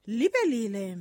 Lipelile.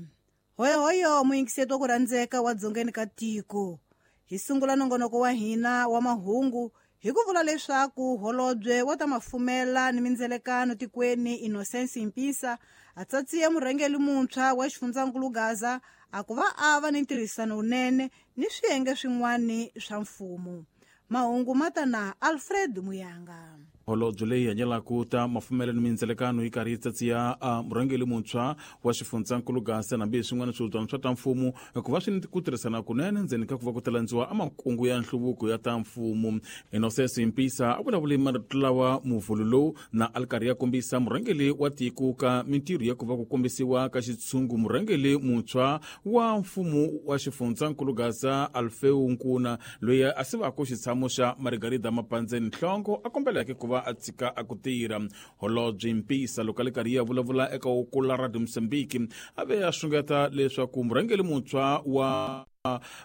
Hoyohoyo muyingiseti wa ku rhandzeka wa dzongeni ka tiko. Hi sungula nongonoko wa hina wa mahungu hi ku vula leswaku holobye wa ta mafumela ni mindzelekano tikweni Innocence Mpisa a tsatsiye murhangeri muntshwa wa xifundzankulu Gaza a ku va a va ni ntirhisano wunene ni swiyenge swin'wana swa mfumo. Mahungu ma ta na Alfred Muyanga. Holobye leyi hanyelaka ta mafumelo ni mindzelekano yi karhi yi tsatsiya a murhangeri muntshwa wa xifundzankulu Gaza hambi swin'wana swihubyana swa ta mfumo ku va swi ni ku tirhisana kunene ndzeni ka ku va ku talandziwa a makungu ya nhluvuko ya ta mfumo. Innocence Mpisa a vulavule marito lawa muvhulu lowu na a ri karhi ya kombisa murhangeri wa tiko ka mintirho ya ku va ku kombisiwa ka xitshungu murhangeri muntshwa wa mfumo wa xifundzankulu Gaza Alfeu Nkuna loyi a sivaka xitshamo xa Margarida Mapandzeni Nhlongo a kombeleke ku va a tshika a ku tirha. Holobye Mpisa loko a le karhi ya vulavula eka Ukula Radio Mozambique a ve a xungeta leswaku murhangeri muntshwa wa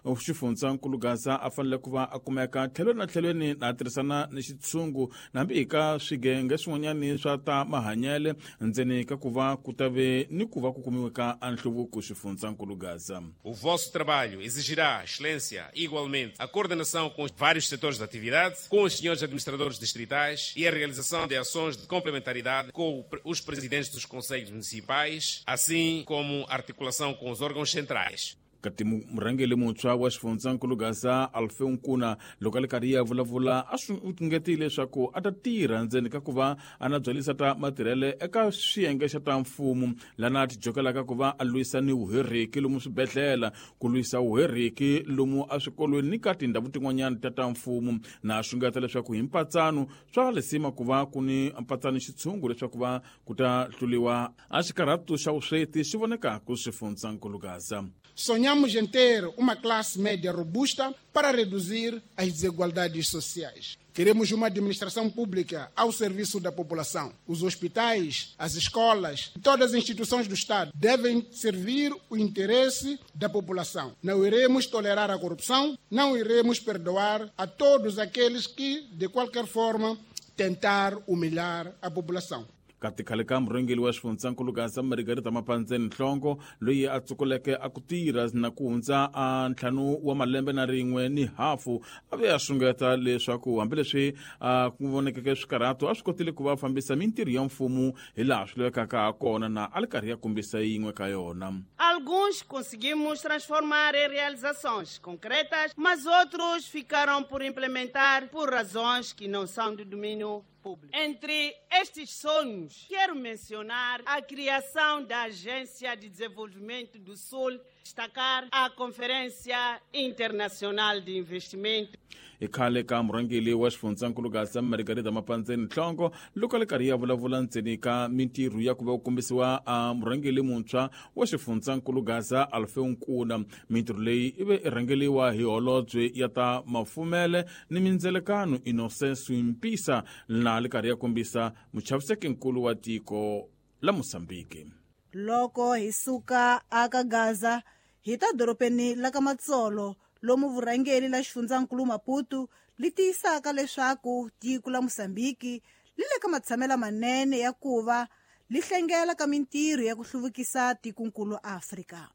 xifundzankulu Gaza a fanele ku va a kumeka tlhelweni na tlhelweni na tirhisana ni xitshungu hambi hi ka swigenge swin'wanyani swa ta mahanyele ndzeni ka ku va ku ta ve ni ku va ku kumiwe ka a nhluvuko xifundzankulu Gaza. O vosso trabalho exigirá excelência, igualmente, a coordenação com os vários setores de atividade, com os senhores administradores distritais e a realização de ações de complementaridade com os presidentes dos conselhos municipais, assim como articulação com os órgãos centrais. Kati murhangeri muntshwa wa xifundzankulu Gaza Alfeu Nkuna loko a le karhi ya vulavula a swi ngetile leswaku a ta tirha ndzeni ka ku va a na byalisa ta matirhele eka swiyenge xa ta mfumo lana a tijokelaka ku va a lwisa ni vuheriki lomu swibedhlele ku lwisa vuheriki lomu eswikolweni ni ka tindhawu tin'wanyana ta ta mfumo na a xungeta leswaku hi mpatsano swa lisima ku va ku ni mpatsano xitshungu leswaku va ku ta hluliwa a xikarhatu xa vusweti xi vonekaka xifundzankulu Gaza. Sonhamos em ter uma classe média robusta para reduzir as desigualdades sociais. Queremos uma administração pública ao serviço da população. Os hospitais, as escolas, todas as instituições do Estado devem servir o interesse da população. Não iremos tolerar a corrupção, não iremos perdoar a todos aqueles que, de qualquer forma, tentar humilhar a população. Kati khale ka murhangeri wa xifundzankulu Gaza Margarida Mapandzeni Nhlongo loyi a tsukuleke a ku tirha na ku hundza a 5 wa malembe na rin'we ni hafu a ve a xungeta leswaku hambileswi a ku vonekeke swikarhato a swi kotile ku va fambisa mintirho ya mfumo hi laha swi lavekaka ha kona na a li karhi ya kombisa yin'we ka yona. Alguns conseguimos transformar em realizações concretas, mas outros ficaram por implementar por razões que não são do domínio público. Entre estes sonhos, quero mencionar a criação da Agência de Desenvolvimento do Sul, destacar a Conferência Internacional de Investimento. I khale ka murhangeri wa xifundzankulu Gaza Margarida Mapandzeni Nhlongo loko a le karhi ya vulavula ndzeni ka mintirho ya ku va ku kombisiwa a murhangeri muntshwa wa xifundzankulu Gaza Alfeu Nkuna. Mintirho leyi i ve i rhangeriwa hi holobye ya ta mafumele ni mindzelekano Innocence Mpisa na le karhi ya kombisa muchaviseki-nkulu wa tiko la Mozambique. Loko hi suka aka Gaza hi ta dorobeni la ka Matsolo lomu vurhangeri la xifundzankulu Maputo li tiyisaka leswaku tiko la Mozambique li le ka matshamelo manene ya ku va li hlengela ka mintirho ya ku hluvukisa tikonkulu Afrika.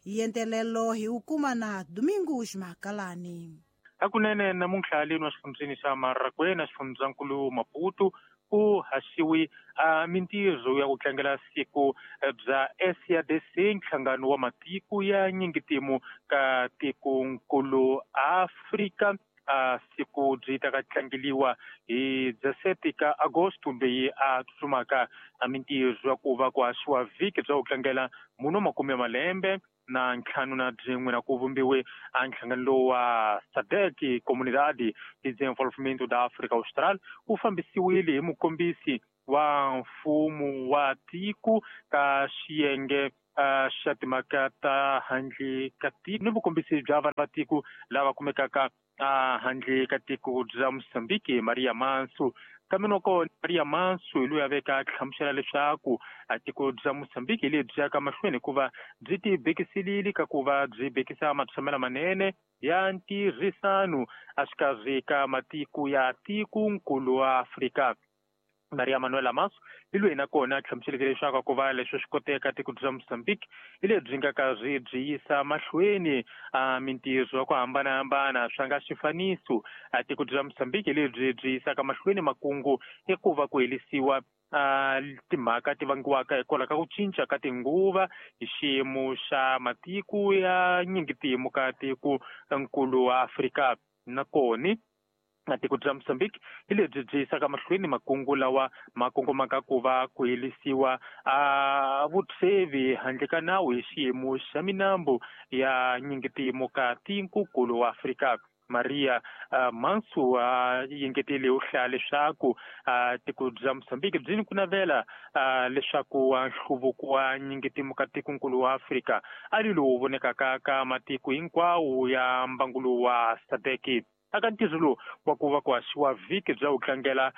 Yentelelo hi wu kuma na Domingos Makalani. Hakunene namuntlha leni wa xifundzeni xa Marakwena xifundzankulu Maputo ku haxiwi a mintirho ya ku tlangela siku bya SADC nhlangano wa matiko ya nyingitimu ka tikonkulu Afrika. A siku byi ta ka tlangeliwa hi 17 ka Agosto leyi a tsutsumaka a mintirho ya ku va ku haxiwa vhiki bya ku tlangela muno makume ya malembe na ntlhanu na byin'we na ku vumbiwe a nhlangano lowu wa SADC Comunidade de Desenvolvimento da África Austral wu fambisiwile hi mukombisi wa mfumo wa tiko ka xiyenge xa timhaka ta handle ka tiko ni vukombisi bya vanhu va tiko lava kumekaka handle ka tiko bya Mozambique Maria Manso. Kambe loko Maria Manso hi loyi a veka hlamusela leswaku a tiko bya Mozambique hi lebyi yaka mahlweni hikuva byi ti bekiselile ka ku va byi bekisa matshamelo manene ya ntirhisano exikarhi ka matiko ya tikonkulu wa Afrika. Maria Manuela Maso hi loyi nakona a hlamuseleke leswaku ku va leswi swi koteka tiko bya Mozambique hi lebyi nga karhi byi yisa mahlweni a mintirho ya ku hambanahambana swa nga xifaniso. A tiko bya Mozambique hi lebyi byi yisaka mahlweni makungu i ku va ku helisiwa timhaka ti vangiwaka hikwalaho ka ku cinca ka tinguva hi xiyimo xa matiko ya nyingitimu ka tiko nkulu wa Afrika. Nakona na tiko bya Mozambique hi lebyi byi yisaka mahlweni makungu lawa ma kongomaka ku va ku helisiwa a vutsevi handle ka nawu hi xiyimo xa minambu ya nyingitimu ka tiko-nkulu wa Afrika. Maria Mansu a yengetele u hlaya leswaku tiko bya Mozambique byi ni ku navela leswaku nhluvuko wa nyingitimu ka tiko-nkulu wa Afrika a ri lowu vonekaka ka matiko hinkwawo ya mbangu lowu wa SADC. Aka ntirho lowu wa ku va ku haxiwa vhiki bya ku tlangela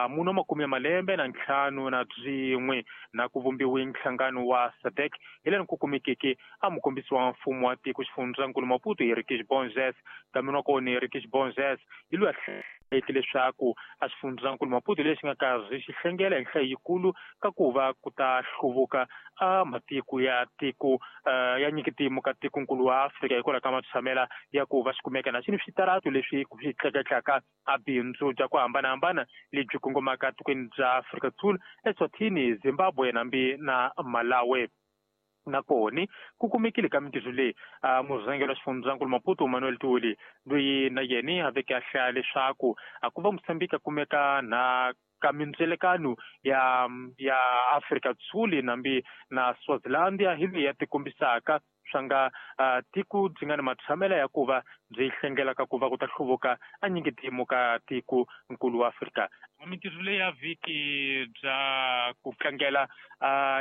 muno makume ya malembe na ntlhanu na byin'we na ku vumbiwe nhlangano wa SADC hi laha ku kumekeke a mukombisi wa mfumo wa tiko xifundzankulu Maputo Henriques Borges. Kambe wa kona Henriques Borges hi loyi a hlayeke leswaku a xifundzankulu Maputo lexi nga karhi xi hlengela hi nhlayo yikulu ka ku va ku ta hluvuka a matiko ya tiko ya nyikitimu ka tikonkulu wa Afrika hikwalaho ka matshamela ya ku va xi kumeka na xini switaratu leswi swi tleketlaka a bindzu bya ku hambanahambana lebyi kongomaka tikweni bya Afrika Dzonga, Eswatini, Zimbabwe nambi na Malawi. Nakona ku kumekile ka mintirho leyi murhangeri wa xifundzankulu Maputo Manuel Tuli loyi na yena a veke a hlaya leswaku a ku va Mozambique a kumeka na ka mindzelekano ya Afrika Dzonga nambi na Swaziland hi leyi ya tikombisaka swa nga tiko byi nga ni matshamela ya ku va byi hlengelaka ku va ku ta hluvuka a nyingitimu ka tiko nkulu wa Afrika. Mintirho leyi ya vhiki bya ku tlangela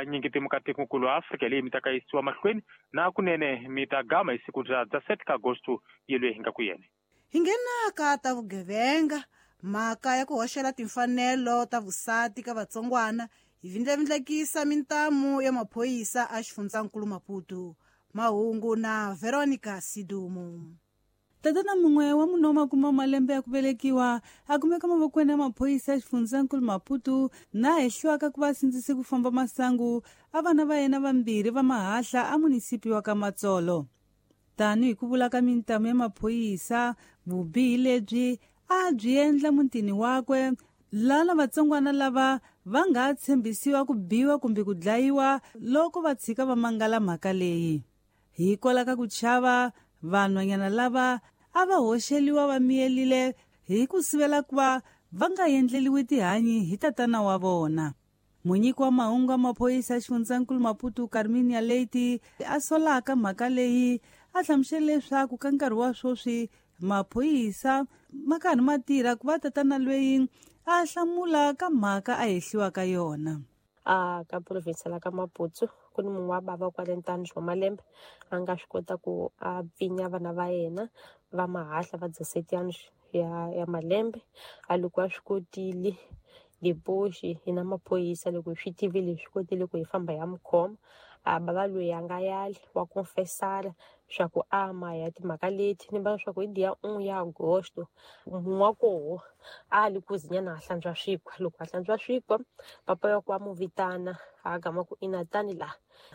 nyingitimu ka tiko nkulu wa Afrika leyi mi ta ka yisiwa mahlweni na kunene mi ta gama hi siku bya 7 ka Agosto yelweyi hi nga ku yena. Hi nghenaka ta vugevenga mhaka ya ku hoxela timfanelo ta vusati ka vatsongwana hi vindlavindlekisa mintamu ya maphorisa a xifundzankulu Maputo. Mahungu na Veronica Sidumo. Tatana mun'we wa munhu wa makume malembe ya ku velekiwa a kumeka mavokweni ya maphorisa ya xifundzankulu Maputo na hehliwaka ku va sindzise ku famba masangu a vana va yena vambirhi va mahahla a munisipi wa ka Matsolo. Tani hi ku vula ka mintamu ya maphorisa, vubihi lebyi a byi endla mutini wakwe lana vatsongwana lava va nga tshembisiwa ku biwa kumbe ku dlayiwa loko va tshika va mangala mhaka leyi. Hikwalaho ka ku chava, vanhwanyana lava a va hoxeliwa va miyelile hi ku sivela ku va va nga endleliwi tihanyi hi tatana wa vona. Munyiki wa mahungu ya maphorisa ya xifundzankulu Maputo Carminia Leite a solaka mhaka leyi a hlamusele leswaku ka nkarhi wa sweswi maphorisa ma karhi ma tirha ku va tatana loyi a hlamula ka mhaka a hehliwaka yona. A ka province la ka Maputo ku ni munhu wa bava kwale ntanu wa malembe a nga swi kota ku a pfinya vana va yena va mahahla va 17 ya malembe a loko a swi kotile dipoxi hi na maphorisa loko hi swi tivile hi swi kotile ku hi famba ya mukhoma a bava loyi a nga yali wa confessara swa ku ama ya timhaka leti ni va swa ku hi dia 1 ya Agosto munhu wa koho a li ku zinyana a hlantswa swikwa loko a hlantswa swikwa papa ya ku a mu vitana a gama ku ina tani la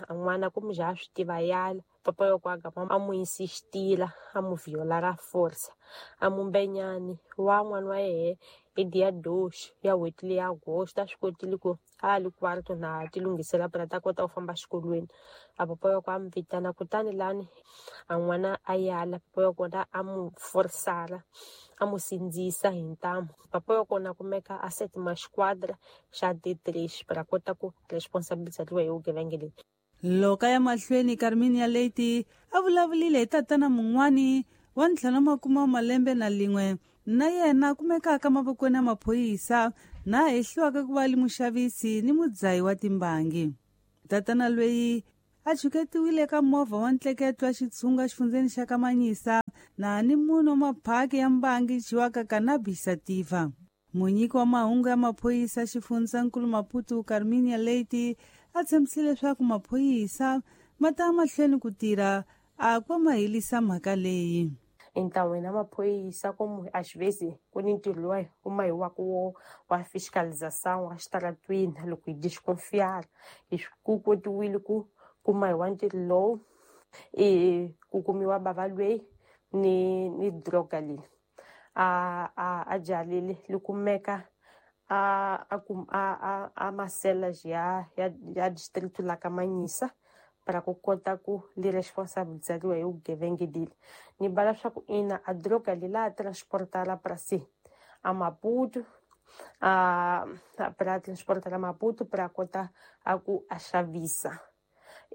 a n'wana ku mujaha swi tiva yala papa ya ku a gama a mu insistila a mu viola ra force a mumbenyani wa n'wana wa yehe hi dia 2 ya n'hweti leya Agosto a swi kotile ku a li kwarto na ti lunghisela phela ta kota ku famba xikolweni a papa ya ku a mu vitana kutani lani a n'wana a yala papa ya kona a mu forsala a mu sindzisa hi ntamu papa ya kona kumeka a set ma xiquadra xa D3 para kota ku responsabilizatiwa hi vugevenga leyi. Loko ya mahlweni Carminia Leite a vulavulile hi tatana mun'wani wa 51 malembe na lin'we na yena kumekaka mavokweni ya maphorisa na hehliwaka ku va li muxavisi ni mudzayi wa timbangi. Tatana loyi a chuketiwile ka movha wa ntleketo wa xitshunga xifundzeni xa Kamanyisa na ni munhu wa maphaki ya mbangi dyiwaka cannabis sativa. Munyiki wa mahungu ya maphorisa xifundzankulu Maputo Carminia Leite a tshembisile leswaku maphorisa ma ta mahlweni ku tirha a ku ma helisa mhaka leyi. Então hina maphorisa como às vezes ku ni ntirho luwa wu mahiwaka wo wa fiscalização a xitaratwini loko hi desconfiar hi ku kotiwile ku kumahiwa ntirho lowu i ku kumiwa bava lweyi ni droga leyi a byalile li kumeka a masela ya distrito la ka Manhissa para ku kota ku li responsabilizariwa hi vugevenga leli. Ni bala swa ku ina a droga leyi la transportala para si a Maputo a para transportar a Maputo para kota a ku a xavisa.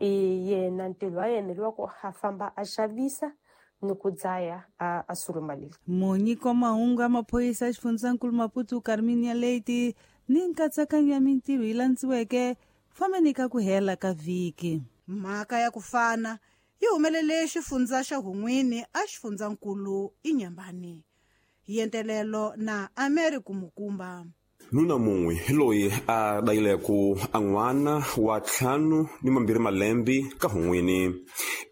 I yena ntirho wa yena lowa ku a famba a xavisa ni ku dzaya a suruma leli. Munyiki wa mahungu ya maphorisa ya xifundzankulu Maputo Carminia Leite ni nkatsakanyo ya mintirho yi landziweke fambeni ka ku hela ka vhiki. Mhaka ya ku fana yi humelele xifundza xa Hun'wini a xifundzankulu Inhambane. Yentelelo na Americo Mukumba. Nuna mun'we hi loyi a dayileko a n'wana wa 52 malembe ka Hun'wini.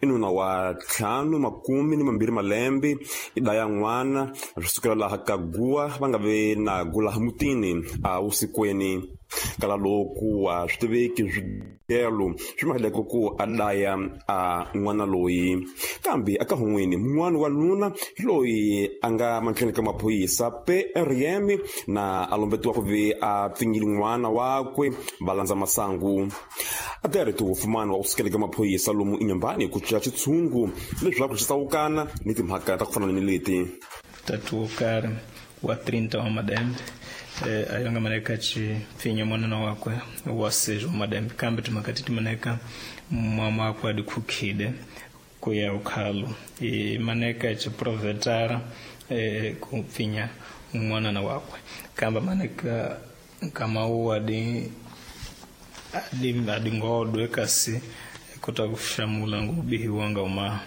I nuna wa 52 malembe i daya n'wana swi sukela laha ka guwa va nga ve na gula mutini a vusikweni. Kala loku a swi tiveki swigelo swi maheleko ku a daya a n'wana loyi. Kambe aka Hun'wini mun'wana wa nuna hi loyi a nga mahlweni ka maphorisa PRM na a lombetiwa ku ve a pfinyile n'wana wakwe va landza masangu. A tirhi wofumana wa ku sukela ka maphorisa lomu Inhambane ku cinca xitshungu leswaku xi tsawukana ni timhaka ta ku fana ni leti. Tatu wo karhi wa 30 wa malembe ayo nga maneka chipfinya mwanana wakwe wa 6 wa malembe kambe timhaka ti maneka mama wakwe adikhukhile ku ya ukhalo i maneka chiprovetara ku pfinya mwanana wakwe kambe maneka nkama wu adingodwe kasi kota kushamula ngubihiwa nga uma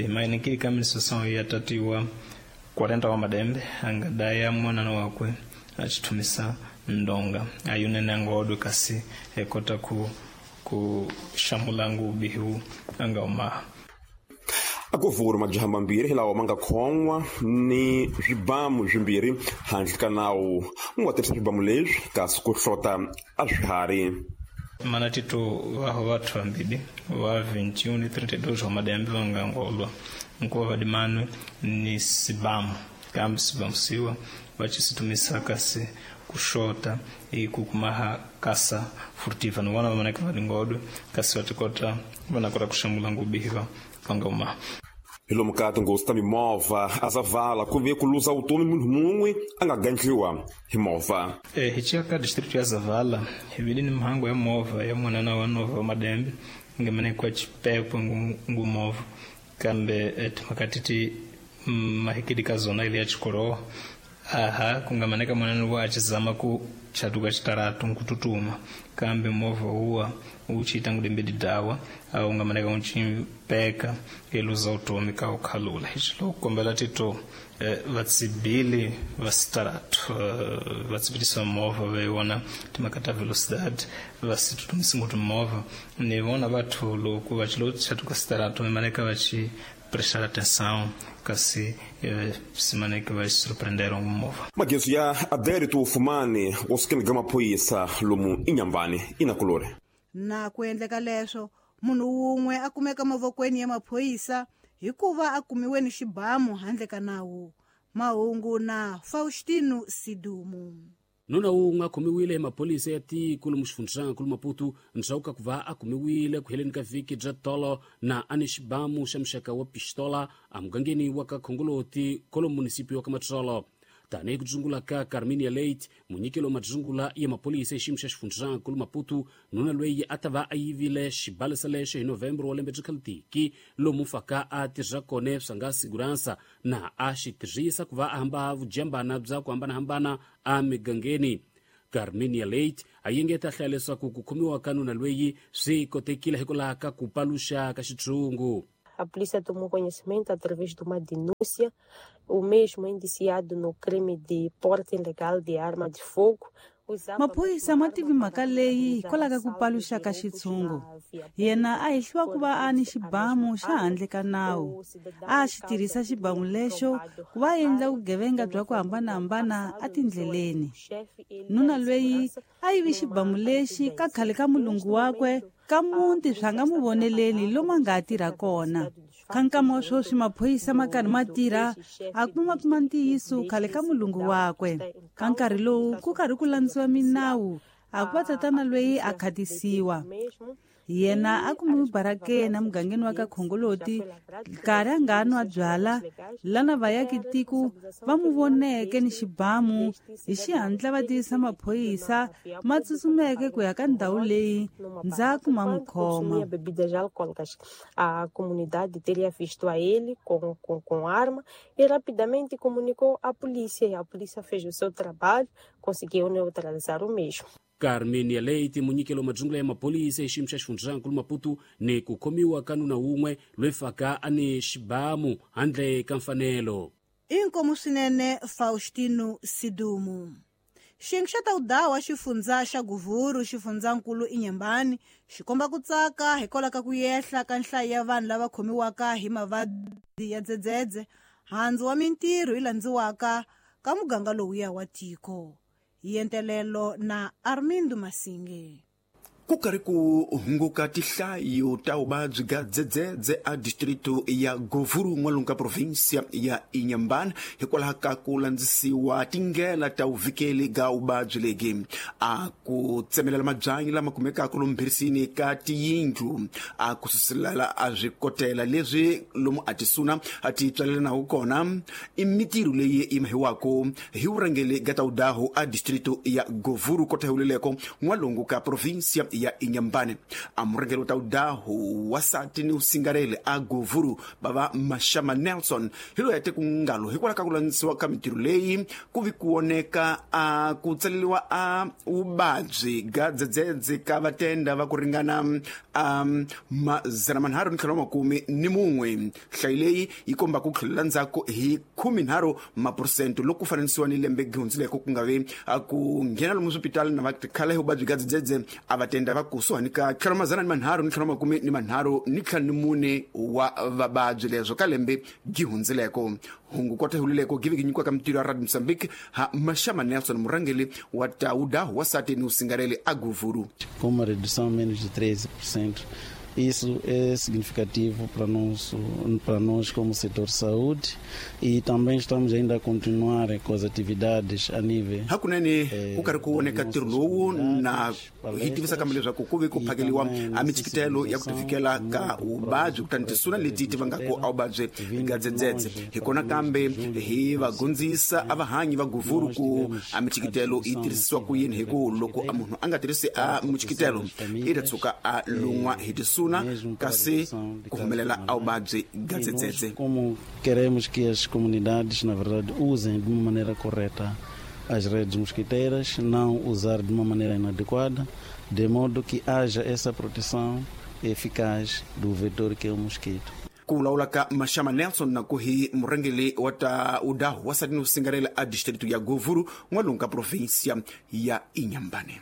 mainikili kaminisosão ya tatiwa 40 wa madembe angadaya mwanana wakwe achitumisa ndonga ayunene angodwe kasi ekota ku shamula ngubihiwu anga uma. Akuvuri majaha mambirhi lawa ma nga khon'wa ni swibamu swimbirhi handle ka nawu mu nga tirhisa swibamu leswi kasi ku hlota a swiharhi. Mana tito vaho vathu vambili wa 21 ni 32 wa madembe va nga ngolwa nkuva vadimanwe ni sibamu kambe sibamu siwa va chisitumisa kasi kuxota ikukumaha kasa furtiva ni vona va maneka vadingodwe kasi va tikota va na kota ku xamula ngubihiva vanga. Hi lomu ka tinghozi ta mimovha a Zavala ku ve ku luza vutomi munhu mun'we a nga gandliwa hi movha. Hi ciya ka district ya Zavala hi vile ni mhangu ya movha ya mwanana wa nova wa madembe nga manekwa chipekwe ngu movha kambe timhaka titi mahikidi ka zona ile ya chikorowa aha kungamaneka mwanana wa achizama ku chatuka chitaratu nkututuma kambe movha uwa uchiita ngudembedi dawa au ungamaneka unchimpeka eluza utomi ka ukhalula hichilo kukombela tito vatsibili va sitaratu vatsibilisa movha veiwona timhaka ta velocidade vasitutumisi ngoti movha ni vona vathu loko vachilo chatuka sitaratu vimaneka vachi prestar atenção kasi simaneke va surpreenderam movha. Magezu ya Adérito Fumani wo sukela ka maphorisa lomu Inhambane inakulore. Na ku endleka leswo munhu wun'we a kumeka mavokweni ya maphorisa hikuva a kumiwe ni xibamu handle ka nawu. Mahungu na Faustino Sidumu. Nuna wun'we a khomiwile hi maphorisa ya tiko lomu xifundzankulu Maputo ndzhaku ka ku va a kumiwile ku heleni ka vhiki bya tolo na a ni xibamu xa muxaka wa pistola emugangeni wa ka Khongoloti kolo munisipi wa ka Matsolo. Tanihi ku dzungula ka Carminia Leite munyikelo wa madzungula ya maphorisa hi xiyimo xa xifundzankulu Maputo nuna loyi a ta va a yivile xibalesa lexo hi November wa lembe bya khalitiki lomu faka a tirha kona swa nga siguransa na a xi tirhisa ku va a hamba vujambana bya ku hambanahambana emigangeni. Carminia Leite a yengeta hlaya leswaku ku khomiwa ka nuna loyi swi kotekile hikwalaho ka ku paluxa ka xitshungu. A polícia tomou conhecimento através de uma denúncia, o mesmo indiciado no crime de porte ilegal de arma de fogo, Maphorisa ma tivi mhaka leyi hikwalaho ka ku paluxa ka xitshungu. Yena a hehliwa ku va a ni xibamu xa handle ka nawu. A xi tirhisa xibamu lexo ku va a endla vugevenga bya ku hambanahambana etindleleni. Nuna loyi a yivi xibamu lexi ka khale ka mulungu wakwe ka muti swa nga mu voneleli lomu a nga ha tirha kona. Ka nkama wa sweswi maphorisa ma karhi ma tirha a kuma kuma ntiyiso khale ka mulungu wakwe. Ka nkarhi lowu ku karhi ku landziwa minawu a ku va tatana loyi a khatisiwa. Yena a kumiwe barakeni emugangeni wa ka Khongoloti nkarhi a nga nwa byala lana vayaki tiko va mu voneke ni xibamu hi xihatla va tivisa maphorisa ma tsutsumeke ku ya ka ndhawu leyi ndzhaku ma n'wi khoma. Bebidas alcoólicas. A comunidade teria visto a ele com arma e rapidamente comunicou à polícia, e a polícia fez o seu trabalho, conseguiu neutralizar o mesmo. Carmenia Leite munyikelo madzungula ya mapolisa exiyimo xa xifundzankulu Maputo ni ku khomiwa ka nuna wun'we loyi faka a ni xibamu handle ka mfanelo. Inkomu swinene Faustino Sidumu. Xiyenge xa tawudawa xifundza xa Guvuru xifundzankulu Inhambane xi komba ku tsaka hikwalaho ka ku yehla ka nhlayo ya vanhu lava khomiwaka hi mavabyi ya dzedzedze, handzu wa mintirho yi landziwaka ka muganga lowuya wa tiko. Yentelelo na Armindo Masinge. Ku karhi ku hunguka tihlayo ta vuvabyi bya dzedzedze a distrito ya Govuru n'walungu ka provinsia ya Inhambane hikwalaho ka ku landzisiwa tindlela ta vuvikeli ga vuvabyi lebyi. A ku tsemelela mabyanyi lama kumekaka lomu mbhirisini ka tiyindlu, a ku suselela a swikotela leswi lomu a tisuna a ti tswalelanaku kona i mitirho leyi yi mahiwaka hi vurhangeri ga tawudahu a distrito ya Govuru kota huleleko n'walungu ka provinsia ya Inhambane. A murhangeri wa tawudahu wasati ni usingarele a Govuru bava Mashama Nelson hi loyi a te ku ngalo hikwalaho ka ku landzisiwa ka mitirho leyi ku vi ku voneka a ku tsaleriwa a vuvabyi ga dzedzedze ka vatenda va ku ringana a 351. Nhlayo leyi yi komba ku tlhelela ndzhaku hi 13% loko ku fananisiwa ni lembe gihundzileko ku nga vi ku nghena lomu swipitali na vakhale hi vuvabyi ga dzedzedze a vatenda va kusuhani ka 334 wa vavabyi leswo ka lembe gihundzileko. Hungu kota hulileko give nyikiwa ka mitirho ya Radio Mozambique ha Mashama Nelson murhangeri wa tawuda wasati ni usingarele a Govuru. Com uma redução menos de 13%. Isso é significativo para nós como setor de saúde, e também estamos ainda a continuar com as atividades a nível. Hakunene ku karhi ku voneka ntirho lowu na hi tivisa kambe leswaku ku ve ku phakeliwa a michikitelo ya ku tivikela ka vuvabyi kutani tisuna leti ti vangaka a vuvabyi ga dzedzedze. Hi kona kambe hi va gondzisa a vahanyi va Govuru ku a michikitelo yi tirhisiwa ku yini, hi ku loko a munhu a nga tirhisi a michikitelo i ta tshuka a lun'wa hi tisuna kasi ku humelela a vuvabyi ga dzedzedze. Como queremos que as comunidades, na verdade, usem de uma maneira correta as redes mosquiteiras, não usar de uma maneira inadequada, de modo que haja essa proteção eficaz do vetor que é o mosquito. Ku vulavula ka Mashama Nelson na ku hi murhangeri wa tawudahu wasati ni usingarela a distrito ya Govuru n'walungu ka provinsia ya Inhambane.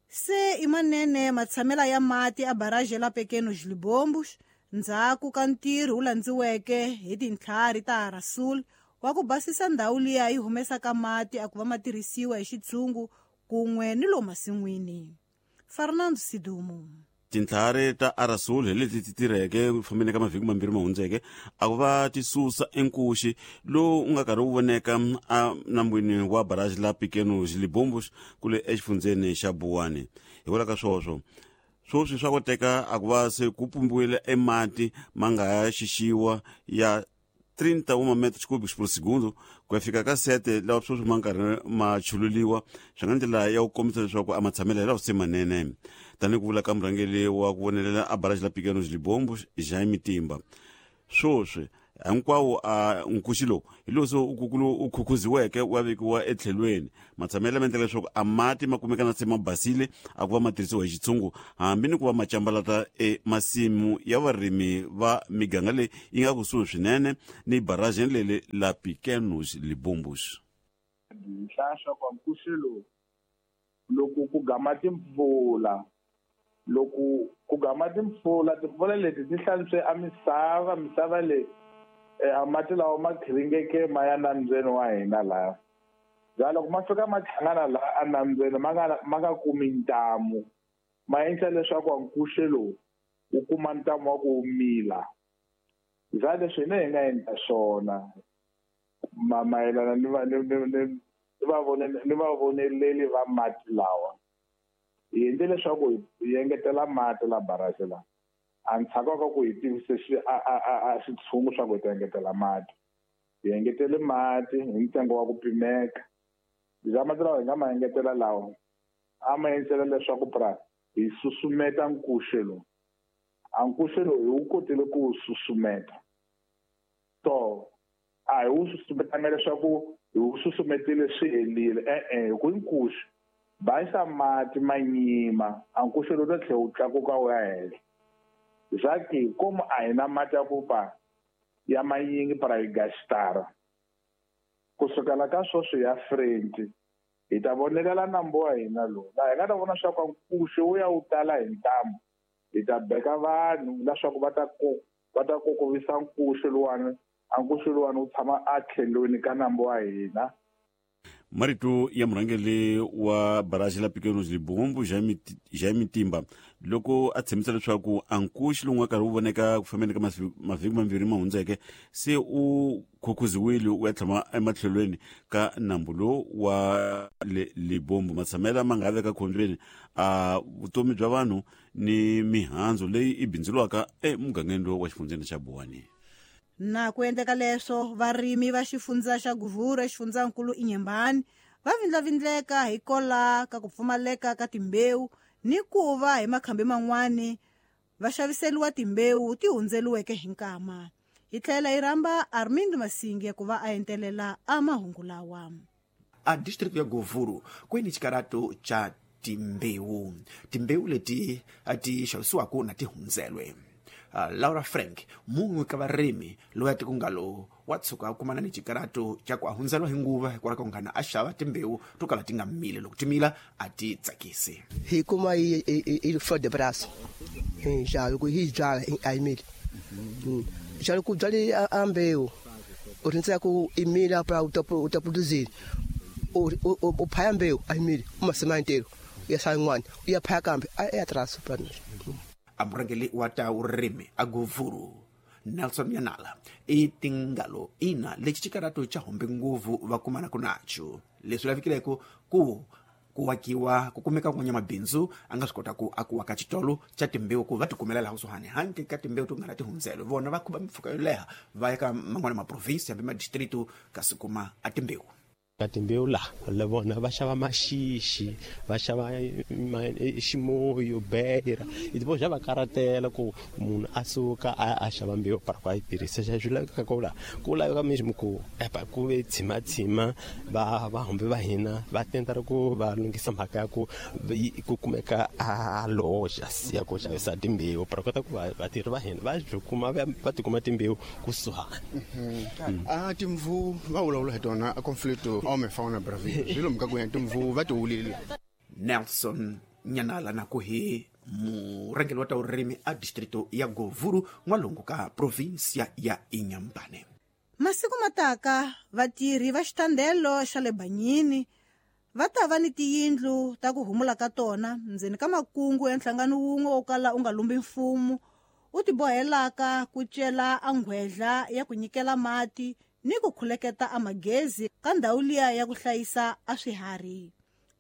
Se i manene matshamela ya mati a barragem la Pequenos Libombos ndzhaku ka ntirho wu landziweke hi tintlhari ta Rasul wa ku basisa ndhawu liya yi humesaka mati a ku va ma tirhisiwa hi xitshungu kun'we ni lo masin'wini. Fernando Sidumu. Tintlhari ta Arasul hi leti ti tirheke ku fambeni ka mavhiki mambirhi ma hundzeke a ku va ti susa enkuxi lowu u nga karhi wu voneka a nambwini wa barrage la Pequenos Libombos kule exifundzeni xa Buwani. Hikwalaho ka swoswo swoswi swa koteka a ku va se ku pumbiwile emati ma nga ya xixiwa ya 31 metros cúbicos por segundo ku ya fika ka 7 lawa sweswi ma nkarhi ma chululiwa swi nga ndlela ya ku kombisa leswaku a matshamelo lawa se manene. Tanihi ku vula ka murhangeri wa ku vonelela a barrage la Pequenos Libombos Jaime Timba, swoswi hinkwawo a nkuxi lowu hi lowu se u khukhuziweke wa vekiwa etlhelweni. Matshamelo lama endla leswaku a mati ma kumeka na se ma basile a ku va ma tirhisiwa hi xitshungu hambi ni ku va ma cambalata emasimu ya varimi va miganga leyi yi nga kusuhi swinene ni barrage leli la Pequenos Libombos. Nhlahla kwa nkuxi lowu Loko ku gama timpfula, loko ku gama timpfula, timpfula leti ti hlantswe a misava, misava leyi a mati lawa ma khiringeke ma ya nambyeni wa hina laha. Bya loko ma fika ma hlangana laha enambyeni ma nga kumi ntamu, ma endla leswaku nkuxe lowu wu kuma ntamu wa ku wu mila. Bya leswi hina hi nga endla swona mayelana ni vavoneleli va mati lawa, hi endle leswaku hi engetela mati la barrage la. A ndzhaku ka ku hi tivise xitshungu swa ku hi ta engetela mati, hi engetele mati hi ntsengo wa ku pimeka. Bya mati lawa hi nga ma engetela lawa a ma endlela leswaku pra hi susumeta nkuxe lowu. A nkuxe lowu hi wu kotile ku wu susumeta, so a hi wu susumetanga leswaku hi wu susumetile swi helile, e-e, hi ku nkuxe basa mati ma nyima, a nkuxe lowu ta tlhela wu tlakuka wu ya henhla. Zaki komu a hi na mati ya ku pa ya manyingi para hi gastara. Kusukela ka sweswi ya French hi ta vonelela nambu wa hina lowu, laha hi nga ta vona swa ku nkuxe wu ya wu tala hi ntamu, hi ta beka vanhu leswaku va ta kokovisa nkuxe luwani, a nkuxe luwani wu tshama a tlhelweni ka nambu wa hina. Marito ya murhangeri wa barrage la Pequenos Libombo Jaime Timba loko a tshembisa leswaku a nkuxi lowu nga karhi wu voneka ku fambeni ka mavhiki mambirhi ma hundzeke se u khukhuziwile u ya tshama ematlhelweni ka nambu lowu wa Libombo. Matshamela ma nga veka khombyeni a vutomi bya vanhu ni mihandzu leyi i bindzuriwaka emugangeni lowu wa xifundzeni xa Buwani. Na ku endleka leswo, varimi va xifundza xa Guvuru exifundzankulu Inhambane va vindlavindleka hi kola ka ku pfumaleka ka timbewu ni ku va hi makhambi man'wani va xaviseriwa timbewu ti hundzeliweke hi nkama. Hi tlhela hi rhamba Armindo Masinge ku va a entelela a mahungu lawa. A district ya Guvuru kweni xikarato cha timbewu, timbewu leti ti xavisiwaka na ti hundzelwe. Laura Frank, mun'we ka varimi loyi a tikungalo wa tshuka a kumana ni xikarato xa ku a hundzeliwa hi nguva hikwalaho ka ku nghana a xava timbewu to kala ti nga mili, loko ti mila a ti tsakisi. Hi kuma hi flor de braço, hi xava loko hi byala a yi mili. Xa ku byali a mbewu u rindzela ku i mila pra u ta produzir, u phaya mbewu a yi mili, u masima ntirho u ya xava yin'wana u ya phaya kambe a ya traso pra. A murhangeri wa ta vurimi a Guvuru Nelson Yanala i tingalo ina lexi xikarato xa humbe nguvu va kumanaka nacho, leswi lavikileko ku wakiwa ku kumeka n'wanyamabindzu a nga swi kota ku aku waka xitolo xa timbewu ku va tikumela laha kusuhani handle ka timbewu to nga na tihundzelo, vona va khuba mpfhuka yo leha va ya ka man'wana maprovinsi hambi madistritu kasi kuma a timbewu. Ka timbewu laha le vona va xava maxixi, va xava ximoyo, beira, i vo xa va karatela ku munhu a suka a xava mbewu para ku a yi tirhisa. Xa swi lavekaka ku laha ku laveka mesmo ku epa ku ve tshimatshima va vahumbi va hina va tenta ku va lunghisa mhaka ya ku ku kumeka a loja ya ku xavisa timbewu para kota ku vatirhi va hina va byi kuma va tikuma timbewu kusuhani. A timvu va vulavula hi tona a conflicto homem fauna bravia swilo mka ku timvu va tiwulile. Nelson Nyanala na ku hi murhangeri wa ta vurimi a distrito ya Govuru n'walungu ka provinsia ya Inhambane. Masiku mataka vatirhi va xitandelo xa le Banyini va ta va ni tiyindlu ta ku humula ka tona ndzeni ka makungu ya nhlangano wun'we wo kala u nga lumbi mfumo u tibohelaka ku cela a nghwedla ya ku nyikela mati ni ku khuleketa a magezi ka ndhawu liya ya ku hlayisa a swiharhi.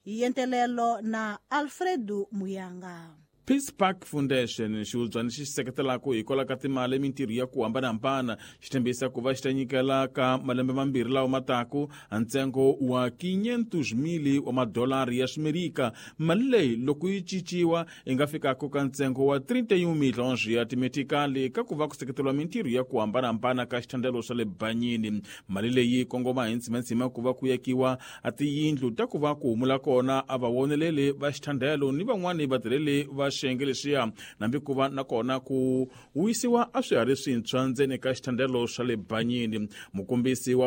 Hi yentelelo na Alfredo Muyanga. Peace Park Foundation xihubyana xi seketelaka hikwalaho ka timali mintirho ya ku hambanahambana xi tshembisa ku va xi ta nyikela ka malembe mambirhi lawa mataku ntsengo wa $500,000 wa madolari ya Ximerika. Mali leyi loko yi cinciwa yi nga fikaka ka ntsengo wa 31 milhons ya timetikali ka ku va ku seketeriwa mintirho ya ku hambanahambana ka xithandelo xa le Banyini. Mali leyi kongoma hi ntsimantsima ku va ku yakiwa a tiyindlu ta ku va ku humula kona a vawoneleli va xithandelo ni van'wani vatirheli va xiyenge lexiya nambi ku va nakona ku wisiwa a swiharhi swintshwa ndzeni ka xithandelo xa le Banyini. Mukombisi wa